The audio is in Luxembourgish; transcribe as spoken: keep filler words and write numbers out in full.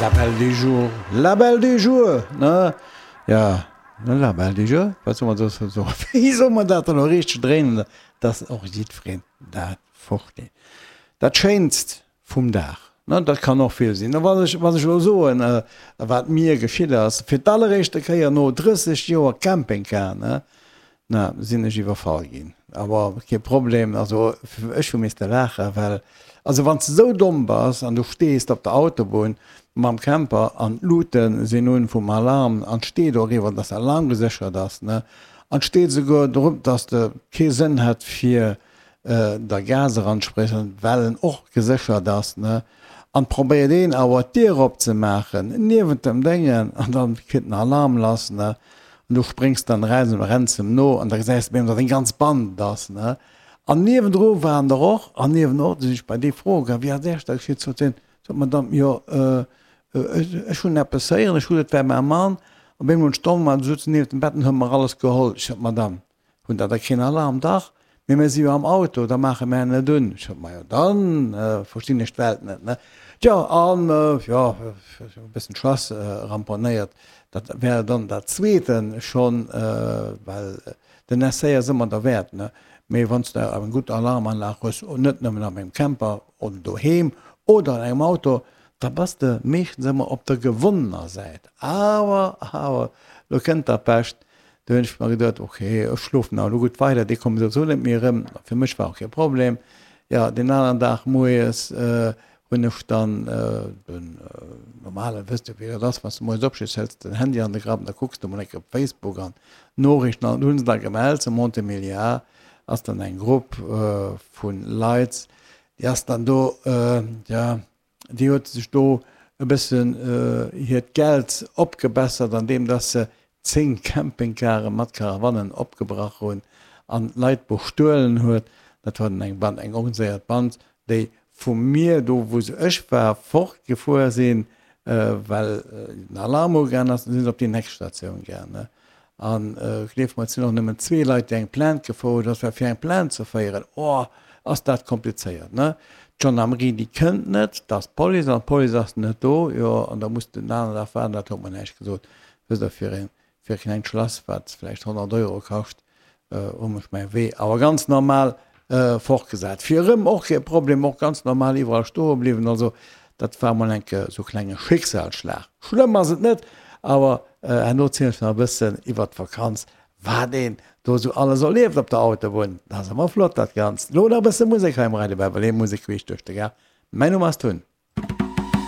La belle du jour, la belle du jour, ne? Ja, ne, la belle du jour, wat soll man soss soen? Wéi soll man dat dann elo richteg dréinen, dass och jiddwereen dat versteet? Dat Schéinst vum Dag, ne, dat kann och vill sinn. A wann ech, wann ech elo soen, wat mir geschitt ass, fir d'alleréischte Kéier no drësseg Joer Campingcar, ne, Na, sinn ech iwwerfall ginn. Awer kee Problem, also ech hu misste laachen, well, also wann s de sou domm bass an du stees op der Autobunn mam Camper an d'Lute sinn un vum Alarm an 't steet och iwwer, dass Alarm geséchert ass, ne, an 't steet esouguer drop, dass de kee Sënn hätt fir der Gas eranzesprëtzen, well en och geséchert ass, ne, an 't probéiert een awer d'Dier opzemaachen niewent dem Déngen an dann kritt den Alarm lass, ne. An du spréngs dann eraus an renns em no an da gesäis de op eemol, datt eng ganz Band ass, ne? An niewendru waren der och, an niewen och, du sinn ech bei déi Fro gaang, wéi ass Iech dat geschitt? Sot hien, sot d'Madame, jo, ech hunn eppes héieren, ech hu, et war mäi Mann, op eemol hunn ech d'Dong gemaach, du sutz niewent dem Bett an hu mer alles geholl. Ech sot, Madame, hunn der da keen Alarm? Dach, mee mir si jo am Auto, da maache mär net un. Ech sot, Majo, dann verstinn ech d'Welt net, ne? Tjo, an jo, e bëssen d'Schlass ramponéiert. Dat wär dann dat Zweete schonn, well den Essai ass ëmmer derwäert, ne? Mee wann s de eng gutt Alarmanlag hues, net nëmmen a mengem Camper oder doheem oder an engem Auto, da bass de meeschtens ëmmer op der gewonnener Säit. Awer, awer, lo kënnt da Pescht. Du hunn ech mer geduet, ok, ech schlofen awer elo gutt weider, déi komme souwisou net méi erëm. Fir mech war och kee Problem. Jo, deen aneren Dag moies hunn ech dann den normalen, wësst jo wéi dat ass, wann s de moies opstees, hëls de den Handy an de Grapp an da kucks de mol eng Kéier op Facebook an d'Noriichten an hunn se da gemellt, zu Montémiliard ass dann eng Grupp vu Leit, déi ass dann do, jo, déi huet sech do e bëssen hiert Geld opgebessert, andeem dass se zéng Campingcare mat Caravannen opgebrach hunn an d'Leit bestuelen huet. Dat war dann eng Band, eng organiséiert Band, déi vu mir, do wou se ech war, fortgefuer sinn, well den Alarm ugaangen ass, sinn se op déi nächst Statioun gaangen. A gleeft mer, et sinn och nëmmen zwee Leit, déi eng Plainte gefouert hunn, well fir eng Plainte ze féieren, oh, ass dat komplizéiert, ne? D'Gendarmerie, déi kënnt net, et ass d'Police, an d'Police ass net do, jo, an da muss de den aneren Dag waarden. Dat huet mer näischt gesot, wësst Der, fir e fir e klengt Schlass, wat vläicht honnert Euro kascht, hu mech mäi Wee awer ganz normal fortgesat. Fir erëm och kee Problem, och ganz normal iwwerall stoe bliwwen. Also dat war mol enke sou klenge Schicksalsschlag. Schlëmm ass et net, awer herno zielen ech nach e bëssen iwwert d'Vakanz, wat een do sou alles erlieft op der Autobunn. Dat ass ëmmer flott dat Ganzt. Lo nach e bësse Musek hei am Radio Bärbel, Musek queesch duerch de Gaart. Mäin Numm ass Tun.